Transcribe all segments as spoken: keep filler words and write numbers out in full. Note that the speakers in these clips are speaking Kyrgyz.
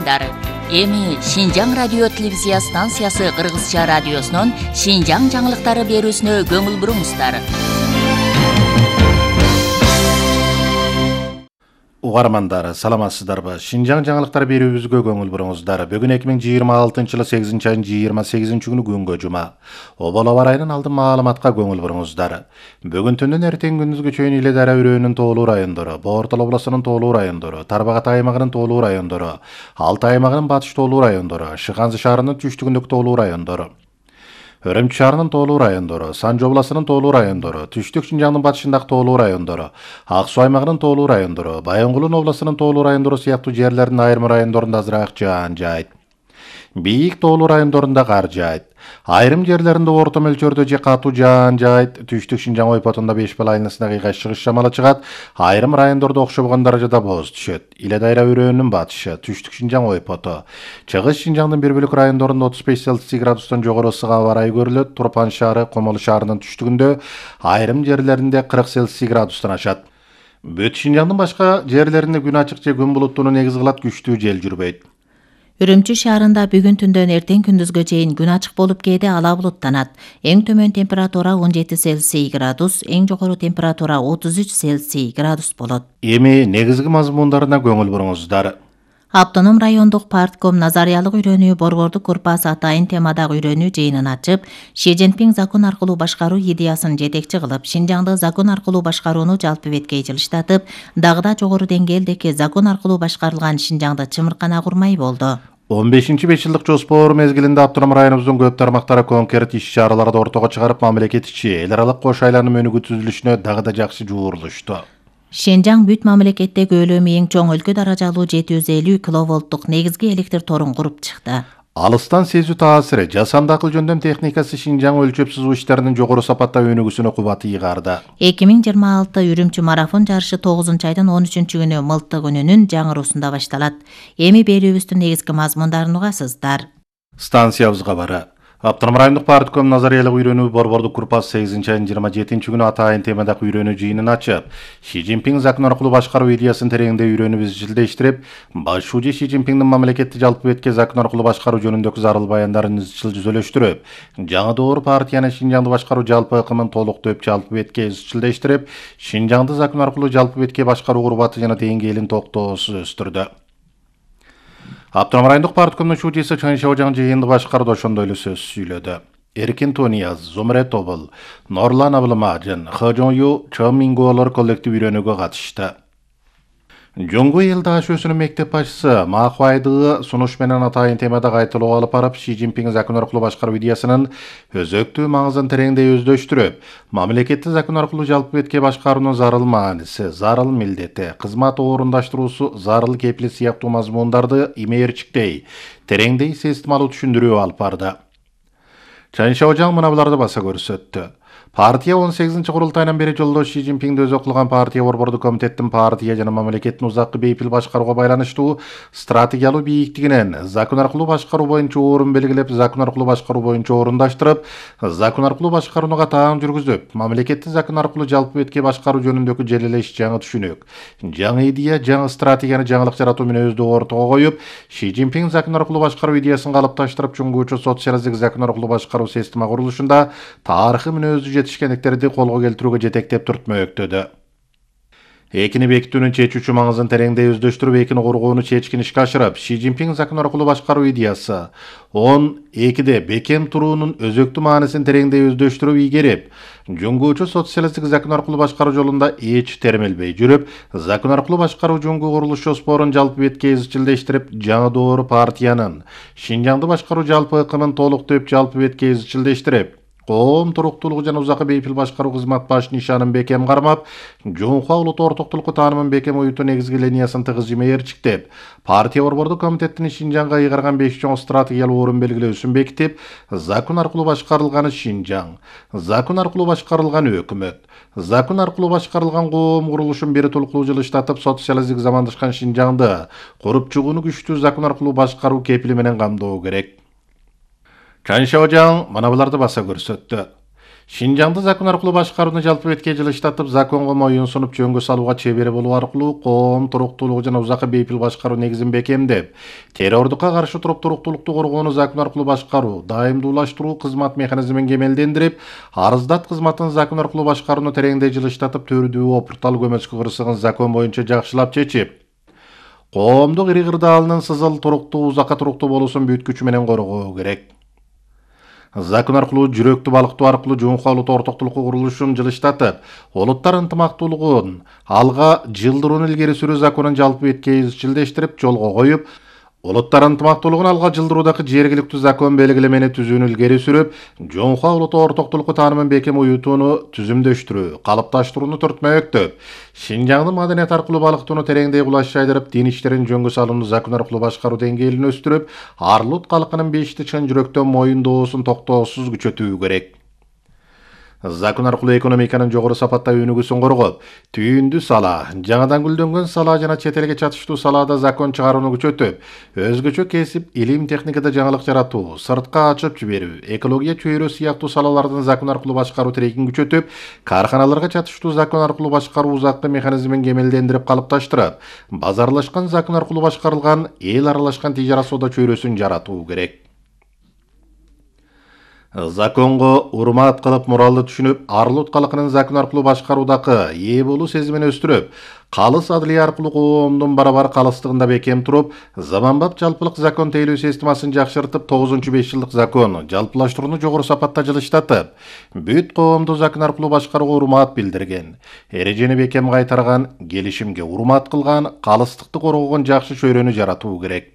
угармандар, эми Шинжаң радио телевизия станциясы Кыргызча радиосунун Шинжаң жаңылыктары берүүсүнө көңүл буруңуздар. Угармандар, саламатсыздарбы? Шинжаң жаңылыктары берүүбүзгө көңүл буруңуздар. Бүгүн эки миң жыйырма алтынчы жылы сегизинчи айдын жыйырма сегизинчи күнү күнгө жума. Обол аба ырайынын алдын маалыматка көңүл буруңуздар. Бүгүн түндөн эртең күндүзгө чейин Иле Дара өрөөнүнүн тоолуу райондору, Боортал областынын тоолуу райондору, Тарбагат аймагынын тоолуу райондору, Алтай аймагынын батыш тоолуу райондору, Шыгансy шаарынын түштүгүндөгү тоолуу райондору, Өрөмчү шаарынын тоолуу райондору, Санжы областынын тоолуу райондору, Түштүк Шинжаңдын батышындагы тоолуу райондору, Ак Суу аймагынын тоолуу райондору, Баянгулдун областынын тоолуу райондору сыяктуу жерлердин айрым райондорунда азыраак жаан жаайт. Бийик тоолуу райондорунда кар жаайт. Айрым жерлеринде орто мөлчөрдө же катуу жаан жаайт. Түштүк Шинжаң ойпотунда беш бал айланасына кыйгай чыгыш шамалы чыгат. Айрым райондордо окшобогон даражада бооз түшөт. Иле Дара өрөөнүнүн батышы, Түштүк Шинжаң ойпоту. Чыгыш Шинжаңдын бир бөлүк райондорунда отуз беш Цельсий градустан жогору ысык аба ырайы көрүлөт. Турпан шаары, Комолу шаарынын түштүгүндө айрым жерлеринде кырк Цельсий градустан ашат. Бүт Шинжаңдын башка жерлеринде күн ачык же күн булуттуу негиз кылат, күчтүү жел жүрбөйт. Үрүмчү шаарында бүгүн түндөн эртең күндүзгө чейин күн ачык болуп кээде ала булуттанат. Эң төмөн температура он жети Цельсий градус, эң жогору температура отуз үч Цельсий градус болот. Эми негизги мазмундарына көңүл буруңуздар. Автоном райондук партком назариялык үйрөнүү борбордук корпус атайын темадагы үйрөнүү жыйынын ачып, Ши Цзиньпин закон аркылуу башкаруу идеясын жетекчи кылып, Шинжаңды закон аркылуу башкарууну жалпы бетке жылыштатып, дагы да жогору деңгээлдеги закон аркылуу башкарылган Шинжаңды чымыркана курмай болду. он бешинчи беш жылдык жоспор мезгилинде автоном районубуздун көп тармактары конкрет иш-чараларды ортого чыгарып, мамлекет ичи эл аралык кош айланым өнүгүү түзүлүшүнө дагы да жакшы жуурулушту. Шинжаң бүт мамлекеттеги өлөмү эң чоң өлкө даражалуу жети жүз элүү киловолттук негизги электр торун куруп чыкты. Алыстан сезүү таасири, жасанды акыл жөндөм техникасы Шинжаң өлчөп сызуу иштеринин жогору сапатта өнүгүүсүнө кубат ыйгарды. эки миң жыйырма алты Үрүмчү марафон жарышы тогузунчу айдын он үчүнчү күнү Мылтык күнүнүн жаңыруусунда башталат. Эми берүүбүздүн негизги мазмундарын угасыздар. Станциябыз кабары. Автоном райондук партком назариялык үйрөнүү борбордук корпус сегизинчи айдын жыйырма жетинчи күнү атайын темадагы үйрөнүү жыйынын ачып, Ши Цзиньпин закон аркылуу башкаруу идеясын тереңдей үйрөнүп изчилдештирип, башчуу Ши Цзиньпиндин мамлекетти жалпы бетке закон аркылуу башкаруу жөнүндөгү зарыл баяндарын изчил жүзөлөштүрүп, жаңы доор партияны Шинжаңды башкаруу жалпы ыкымын толуктоп жалпы бетке изчилдештирип, Шинжаңды закон аркылуу жалпы бетке башкаруу курбаты жана деңгээлин токтоосуз өстүрдү. Автоном райондук парткомдун шүүчүсү Чан Шаожаң жыйынды башкарды, ошондой эле сөз сүйлөдү. Эркин Тонияз, Зумре Тобул, Норлан Абылмажын, Хожон Ю, Чон Мингуолор коллектив үйрөнүүгө катышты. Жоңгу эл даашөсүнүн мектеп башчысы Ма Хуайдыгы сунуш менен атайын темада кайталоо алып барып, Ши Цзиньпин закон аркылуу башкаруу идеясынын өзөктүү маңызын тереңдей өздөштүрүп, мамлекетти закон аркылуу жалпы бетке башкаруунун зарыл мааниси, зарыл милдети, кызмат орундаштыруусу, зарыл кепилет сыяктуу мазмундарды имээрчиктей, тереңдей системалуу түшүндүрүү алып барды. Чан Шаожаң мына буларды баса көрсөттү. Партия он сегизинчи курултайынан бери жолдош Ши Цзиньпинди өзү кылган партия борбордук комитеттин партия жана мамлекеттин узаккы бейпил башкарууга байланыштуу стратегиялуу бийиктигинен закон аркылуу башкаруу боюнча орун белгилеп, закон аркылуу башкаруу боюнча орундаштырып, закон аркылуу башкарууну катаан жүргүзүп, мамлекетти закон аркылуу жалпы бетке башкаруу жөнүндөгү желелеш жаңы түшүнүк, жаңы идея, жаңы стратегияны жаңылык жаратуу мүнөздүү ортого коюп, Ши Цзиньпин закон аркылуу башкаруу идеясын калыпташтырып, чуңгуучу социалисттик закон аркылуу башкаруу система курулушунда тарыхый мүнөздүү жетишкендиктерди колго келтирүүгө жетектеп туртмөктөдү. Экини бекитүүнүн чечүүчү маңызын тереңдей өздөштүрүп, экини коргоону чечкин ишке ашырып, Ши Цзиньпин закон аркылуу башкаруу идеясы он экиде бекем туруунун өзөктүү маанисин тереңдей өздөштүрүп ийгерип, жуңгуучу социалисттик закон аркылуу башкаруу жолунда эч термелбей жүрүп, закон аркылуу башкаруу жуңгу курулуш жоспорун жалпы бетке изчилдештирип, жаңы доор партиянын Шинжаңды башкаруу жалпы ыкымын толуктоп жалпы бетке изчилдештирип, коом туруктуулугу жана узаккы бейпил башкаруу кызмат баш нишанын бекем кармап, Жунхуа улут ортоктулукку таанымын бекем оюутуу негизги линиясын тыгыз жимээрчиктеп, партия борбордук комитеттин Шинжаңга ыйгарган беш чоң стратегиялуу орун белгилөөсүн бекитип, закон аркылуу башкарылган Шинжаң, закон аркылуу башкарылган өкмөт, закон аркылуу башкарылган коом курулушун бир толуктуу жылыштатып, социалисттик замандашкан Шинжаңды куруп чыгууну күчтүү закон аркылуу башкаруу кепили менен камдоо керек. Чан Шаожаң мына буларды баса көрсөттү. Шинжаңды закон аркылуу башкарууну жалпы бетке жылыштатып, законго моюн сунуп жөнгө салууга чебери болуу аркылуу коом туруктуулугу жана узакка бейпил башкаруу негизин бекемдеп, террордукка каршы туруп туруктуулукту коргоону закон аркылуу башкаруу, дайымдуулаштыруу кызмат механизмин кемелдендирип, арыздат кызматын закон аркылуу башкарууну тереңдей жылыштатып, төрдүү опуртал көмөчкү кырсыгын закон боюнча жакшылап чечип, коомдук ири кырдаалынын сызыл туруктуу, узакка туруктуу болуусун бүт күчү менен коргоо керек. Закон аркылуу жүрөктү балыктоо аркылуу жоңко улут ортоктулукку курулушун жылыштатып, улуттар ынтымактуулугун алга жылдырууну илгери сүрүү законун жалпы бетке изчилдештирип, жолго коюп, улуттар ынтымактуулугун алга жылдыруудагы жергиликтүү закон белгилемени түзүүнү илгери сүрүп, жоңко улут ортоктулукку таанымын бекем уютууну түзүмдөштүрүү, калыпташтырууну түртмөктөп, Шинжаңдын маданият аркылуу балыктоону тереңдей кулаш жайдырып, дин иштерин жөнгө салууну закон аркылуу башкаруу деңгээлин өстүрүп, арлут калкынын бешти чын жүрөктөн моюндоосун токтоосуз күчөтүү керек. Закон аркылуу экономиканын жогору сапатта өнүгүүсүн коргоп, түйүндү сала, жаңадан гүлдөнгөн сала жана чет элге чатыштуу салаада закон чыгарууну күчөтүп, өзгөчө кесип, илим техникада жаңылык жаратуу, сыртка ачып жиберүү, экология чөйрө сыяктуу салалардын закон аркылуу башкаруу тирегин күчөтүп, карханаларга чатыштуу закон аркылуу башкаруу узаккы механизмин кемелдендирип калыпташтырып, базарлашкан закон аркылуу башкарылган эл аралашкан тижара соода чөйрөсүн жаратуу керек. Законго урмат кылып, муралды түшүнүп, арлут калкынын закон аркылуу башкаруудагы ээ болуу сезимин өстүрүп, калыс адлия аркылуу коомдун барабар калыстыгында бекем туруп, заманбап жалпылык закон тейлөө системасын жакшыртып, тогузунчу беш жылдык закон жалпылаштырууну жогору сапатта жылыштатып, бүт коомду закон аркылуу башкарууга урмат билдирген, эрежени бекем кайтарган, келишимге урмат кылган, калыстыкты коргогон жакшы чөйрөнү жаратуу керек.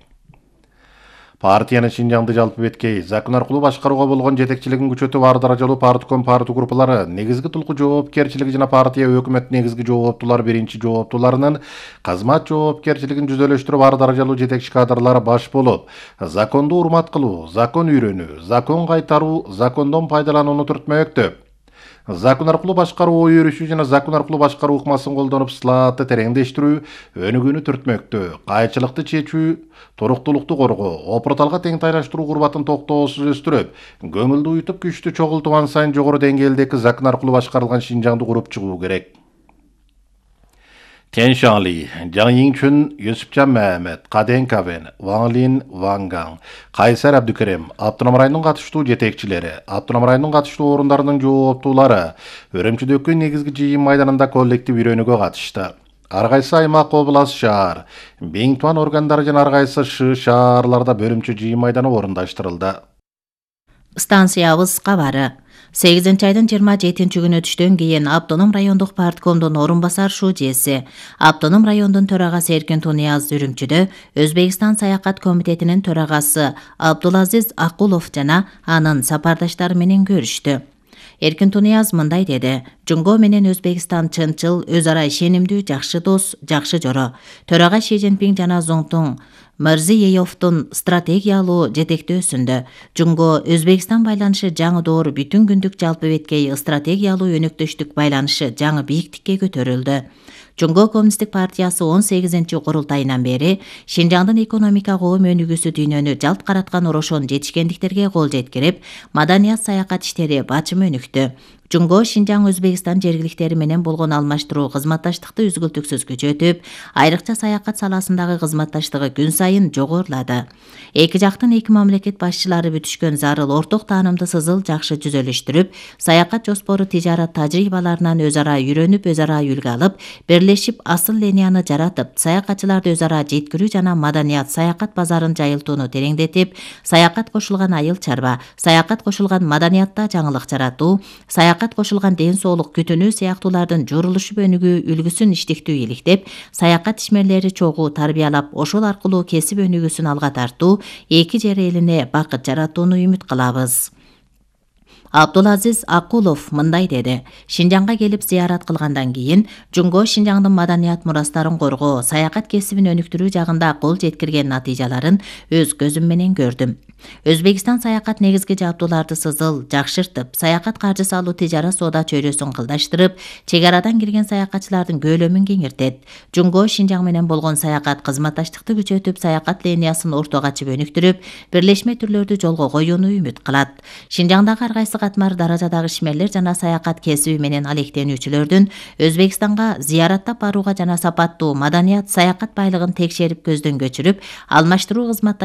Партиянын Шинжаңды жалпы беткей закон аркылуу башкарууга болгон жетекчилигин күчөтүп, ар даражалуу партком партия группалары, негизги тулку жоопкерчилиги жана партия өкмөт негизги жооптуулар биринчи жооптууларынын кызмат жоопкерчилигин жүзөлөштүрүп, ар даражалуу жетекчи кадрлары баш болуп, законду урмат кылуу, закон үйрөнүү, закон кайтаруу, закондон пайдаланууну түртмөктөп, закон аркылуу башкаруу ой өрүшүү жана закон аркылуу башкаруу ыкмасын колдонуп, сылаатты тереңдештирүү, өнүгүүнү түртмөктөө, кайчылыкты чечүү, туруктуулукту коргоо, опурталга теңтайлаштыруу курбатын токтоосуз өстүрүп, көңүлдү уютуп, күчтү чогултуп, ан сайын жогору деңгээлдеги закон аркылуу башкарылган Шинжаңды куруп чыгуу керек. Тен Шаңли, Жаң Йиңчүн, Юсупчан Мәмет, Каден Кавен, Ван Лин, Ван Гаң, Кайсар Абдукерим, Автоном районунун катыштуу жетекчилери, Автоном районунун катыштуу орундарынын жооптуулары Өрөмчүдөгү негизги жыйын майданында коллектив үйрөнүүгө катышты. Ар кайсы аймак, область, шаар, бең туан органдары жана ар кайсы шы шаарларда бөлүмчө жыйын майданы орундаштырылды. Станциябыз кабары. сегизинчи айдын жыйырма жетинчи күнү түштөн кийин Автоном райондук парткомдун орун басар шужеси, Автоном райондун төрагасы Эркин Тунияз Үрүмчүдө Өзбекстан саякат комитетинин төрагасы Абдулазиз Акулов жана анын сапардаштары менен көрүштү. Эркин Тунияз мындай деди: Жунго менен Өзбекстан чынчыл, өз ара ишенимдүү, жакшы дос, жакшы жоро. Төрага Ши Цзиньпин жана Зоңтун Мирзиеевдин стратегиялуу жетектөөсүндө Жунго Өзбекстан байланышы жаңы доор бүтүн күндүк жалпы беткей стратегиялуу өнөктөштүк байланышы жаңы бийиктикке көтөрүлдү. Жунго Коммунисттик партиясы он сегизинчи курултайынан бери Шинжаңдын экономика коом өнүгүүсү дүйнөнү жалт караткан орошон жетишкендиктерге кол жеткирип, маданият саякат иштери бачым өнүктү. Жунго Шинжаң Өзбекстан жергиликтери менен болгон алмаштыруу кызматташтыкты үзгүлтүксүз күчөтүп, айрыкча саякат саласындагы кызматташтыгы күн сайын жогорулады. Эки жактын эки мамлекет башчылары бүтүшкөн зарыл орток таанымды сызыл жакшы жүзөлөштүрүп, саякат жоспору тижарат тажрыйбаларынан өз ара үйрөнүп, өз ара үлгү алып, бирлешип асыл линияны жаратып, саякатчыларды өз ара жеткирүү жана маданият саякат базарын жайылтууну тереңдетип, саякат кошулган айыл чарба, саякат кошулган маданиятта жаңылык жаратуу, саякат кошулган ден соолук күтүнүү сыяктуулардын журулушуп өнүгүү үлгүсүн иштиктүү иликтеп, саякат ишмерлери чогуу тарбиялап, ошол аркылуу кесип өнүгүүсүн алга тартуу, эки жер элине бакыт жаратууну үмүт кылабыз. Абдулазиз Акулов мындай деди: Шинжаңга келип зыярат кылгандан кийин Жунго Шинжаңдын маданият мурастарын коргоо, саякат кесибин өнүктүрүү жагында кол жеткирген натыйжаларын өз көзүм менен көрдүм. Өзбекстан саякат негизги жабдууларды сызыл жакшыртып, саякат каржысы алуу тижара соода чөйрөсүн кылдаштырып, чек арадан кирген саякатчылардын көлөмүн кеңиртет. Жумго Шинжаң менен болгон саякат кызматташтыкты күчөтүп, саякат линиясын ортого ачып өнүктүрүп, бирлешме түрлөрдү жолго коюуну үмүт кылат. Шинжаңдагы ар кайсы катмар даражадагы ишмерлер жана саякат кесиби менен алектенүүчүлөрдүн Өзбекстанга зыяраттап барууга жана сапаттуу маданият, саякат байлыгын текшерип көздөн көчүрүп, алмаштыруу кызматташуулары